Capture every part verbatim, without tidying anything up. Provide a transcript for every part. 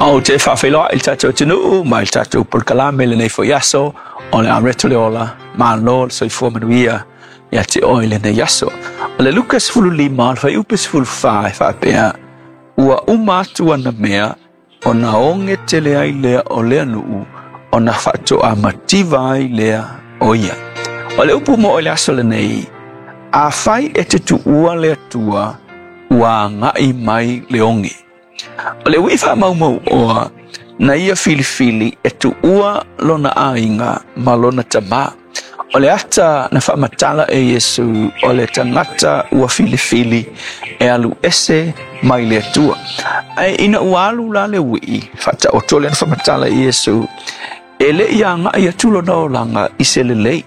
Ou te faafeiloai i le tatou atunuu ma i le tatou polokalame lenei foi aso o le Areto le Ola, malo le soifua manuia ia te oe lenei aso. O le Luka sefululima, o le fuaiupu sefulufa e faapea, ua uma atu ana mea, ona oge tele ai lea o lea nuu, ona faatoa mativa ai lea o ia. O le upu mo i le aso lenei, afai e te tuua le Atua, ua agai mai le oge. O le ui faamaumau oa, na ia filifili e tuua lona aiga ma lona tamā. O le ata na faamatala e Iesu o le tagata ua filifili e alu ese mai le Atua. Ae ina ua alu la le ui'i, faataoto lea na faamatala e Iesu, e le i agai atu lona olaga i se lelei.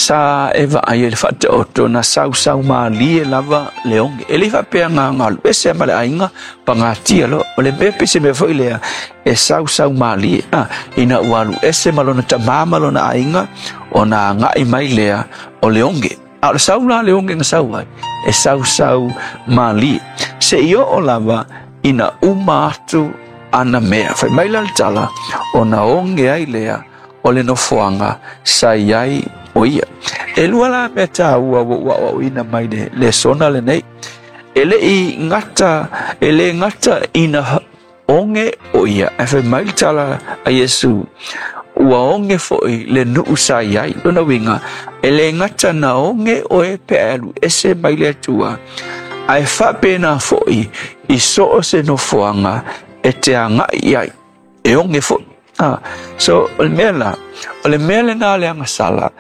Sa e vaai ai le faataoto na sausau malie lava le oge. E le faapea nga alu ese ma le aiga pagatia loa. O le mea pe se mea foi lea e sausau malie. Ah, ina ua alu ese ma lona tamā ma lona aiga, ona agai mai lea o le oge. A o le sau la le oge na sau ai, e sausau malie. Seia oo lava ina uma atu ana mea. Fai mai la le tala, ona oge ai lea o le nofoaga sa i ai o ia. E lua la mea taua ua ou aoaoina mai le lesona lenei. E le i gata, e le gata ina oge o ia. Ae fai mai le tala a Iesu, ua oge foi le nuu sa i ai. Lona uiga, e le gata na oge oe pe a alu ese mai le Atua, ae faapena foi i so o se nofoaga e te agai i ai. E oge foi. Ah, so, o le mea la, o le mea lena le agasala,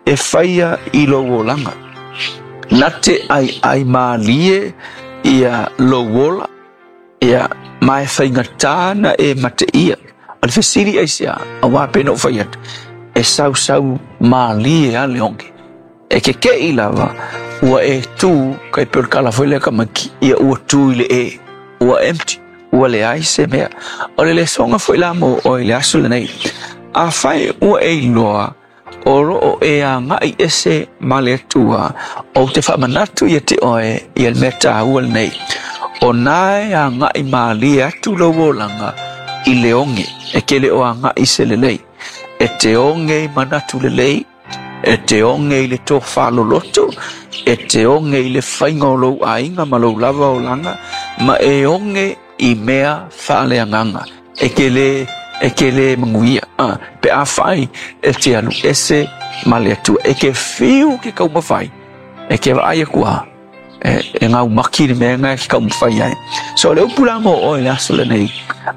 e faia i lou olaga. Na te aiai malie ia lou ola, ia ma e faigata na e mateia. O le fesili aisea, auā pei ona ou fai atu, e sausau malie a le oge. E keke'i lava, ua e tu, kai pei o le kala foi lea tamaiti, ia ua tu i le e, ua empty, ua leai se mea. O le lesoga foi la mo oe i le aso lenei. Afai ua e iloa, o loo e agai ese ma le Atua, ou te faamanatu ia te oe ia le mea taua lenei. O na e agai malie atu lou olaga i le oge, e ke le o agai se lelei. E te oge i manatu lelei, e te oge i le tofa loloto, e te oge i le faiga o lou aiga ma lou lava olaga, ma e oge i mea faaleagaga. E ke le e ke le manuia. Ah, pe afai e te alu ese ma le Atua. E ke fiu ke taumafai. E ke vaai aku a. E, e gaumaki le mea na e ke taumafai ai. So le upu la mo oe le aso lenei.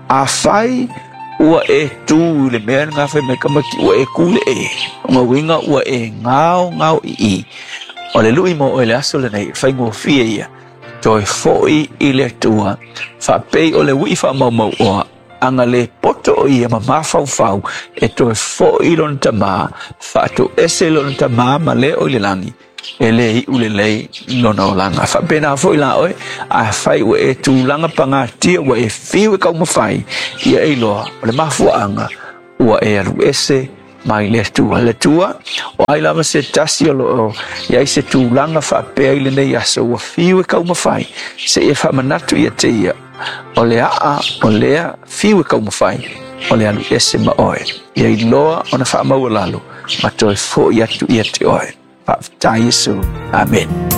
Afai ua e tu i le mea na fai mai tamaiti ua e tu i le e. O lona uiga ua e gao gao i i. O le lui mo oe le aso lenei. Faigofie ia. Toe foi i le Atua. Faapei o le ui faamaumau oa. Ana le poto o ia ma mafaufau e toe foi i lona tamā, faatoese lona tamā ma le o i le lagi, e le iu lelei lona olaga. Faapena foi la oe, afai ua e tulaga pagatia ua e fiu e taumafai, ia e iloa o le mafuaaga ua e alu ese mai le Atua. Le Atua, o ai lava se tasi o loo i ai se tulaga faapea i lenei aso ua fiu e taumafai, seia faamanatu ia te ia, o le aa o lea fiu e taumafai, o le alu ese ma oe. Ia iloa ona faamaualalo, ma toe foi atu ia te oe. Faafetai Iesu. Amen.